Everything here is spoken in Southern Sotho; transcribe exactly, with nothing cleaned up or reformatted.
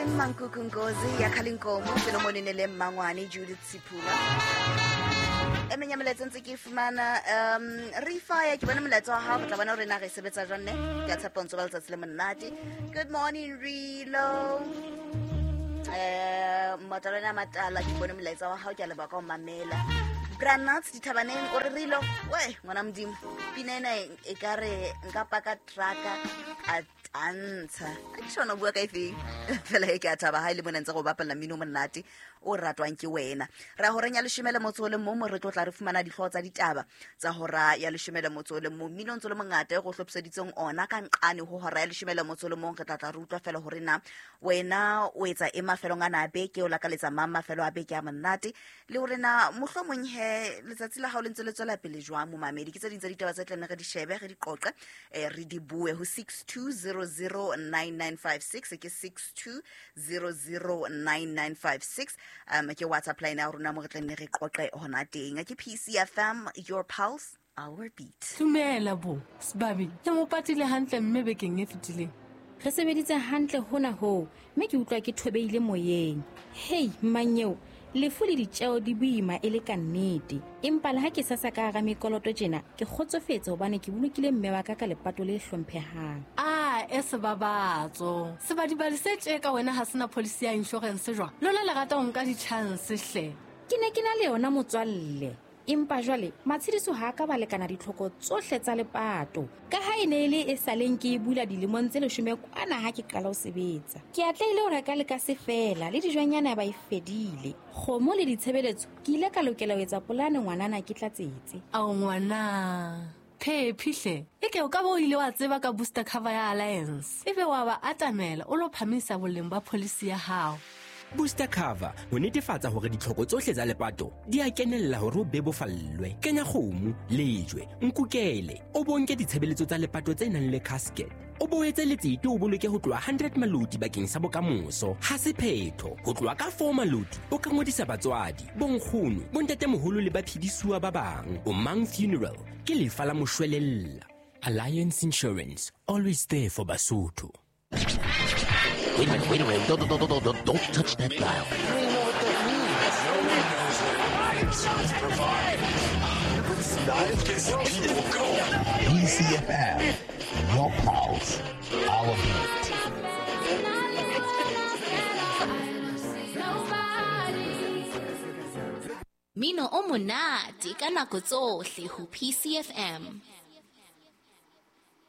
Mankuku Nkosi ya Khalinkomo Solomon le Mmangwane Judith Sipula. E meng ya melaetsa ntse ke e fumana um Rifaya ke bona molaetsa wa hao, re tla bona hore na re sebetsa jwang ne. Ke a tshepa o ntso ba letsatsi le monate. Good morning Rilo. Eh Matalana Matala ke bona molaetsa wa hao, ke a leboha ka ho mamela. Granats dithabaneng o re Rilo, we ngwana Modimo pina ena e ka re nka paka trucka a tantsha. A ke tjhona bua ka efeng fela e ke a thaba ha ile mona ntse go bapalla mmino o monate o ratwang ke wena. Ra horeng ya leshome le motso o le mong mo re tlo tla re fumana dihlooho tsa ditaba tsa hora ya leshome le motso o le mong. Mmino o ntse o le mongata e go hlophiseditseng ona ka nqane ho hora ya leshome le motso o le mong. Re tla tla re utlwa fela hore na wena o etsa e mafelong ana a beke, o lakaletsa mang mafelo a beke a monate, le hore na mohlomong he letsatsi la hao le ntse le tswela pele jwang momamedi. Ke tse ding tsa ditaba tse tlang re di shebe, re di qoqe, eh, re di bue ho six two zero zero nine nine five six, ke six two zero zero nine nine five six. Um ke WhatsApp line ya rona mo re tla nne re qoqe hona teng. Ke P C F M, your pulse, our beat. Dumela bo Sibabi, ke mo patile hantle mme bekeng e fetileng. Re sebeditse hantle hona hoo, mme ke utlwa ke thobeile moyeng. Hei mmanyeo, lefu le ditjeo di boima e le ka nnete. Empa le ha ke sasa ka hara mekoloto tjena, ke kgotsofetse hobane ke bolokile mme wa ka ka lepato le hlomphehang. Ah, e sebabatso. Sebadibadi se tje ka wena ha sena policy ya insurance jwang? Lona le rata ho nka di-chance hle. Ke ne ke na le yona motswalle. Empa jwale matshediso ha ka ba lekana ditlhoko tsohle tsa lepato. Ka ha e ne e le e saleng ke e bula dilemong tse leshome kwana ha ke qala ho sebetsa. Ke atlehile ho reka le ka se fela le dijonyana ba e fedile. Kgomo le ditshebeletso ke ile ka lokela ho etsa polane ngwanana ke tlatsetse. Ao ngwana. Phephi hle. Eke o ka bo ile wa tseba ka booster cover ya Alliance. Ebe wa ba atamela o lo phamisa boleng ba policy ya hao. Booster cover ho netefatsa hore ditlhoko tsohle tsa lepato di a kenella hore o bebofallwe. Kenya kgomo, lejwe, nkukele, o bonke ditshebeletso tsa lepato tse nang le casket. O boetse letsete o boloke ho tloha hundred maloti bakeng sa bokamoso. Ha se phetho, ho tloha ka four maloti o ka ngodisa batswadi, bonkgono, bontatemoholo le baphedisuwa ba bang. O Mang Funeral ke lefa la moshwelella. Alliance Insurance, always there for Basotho. Wait a minute, wait a minute. Don't, don't, don't, don't, don't touch that dial. P C F M, your pulse, our beat. Mino o monate ka nako tsohle ho P C F M.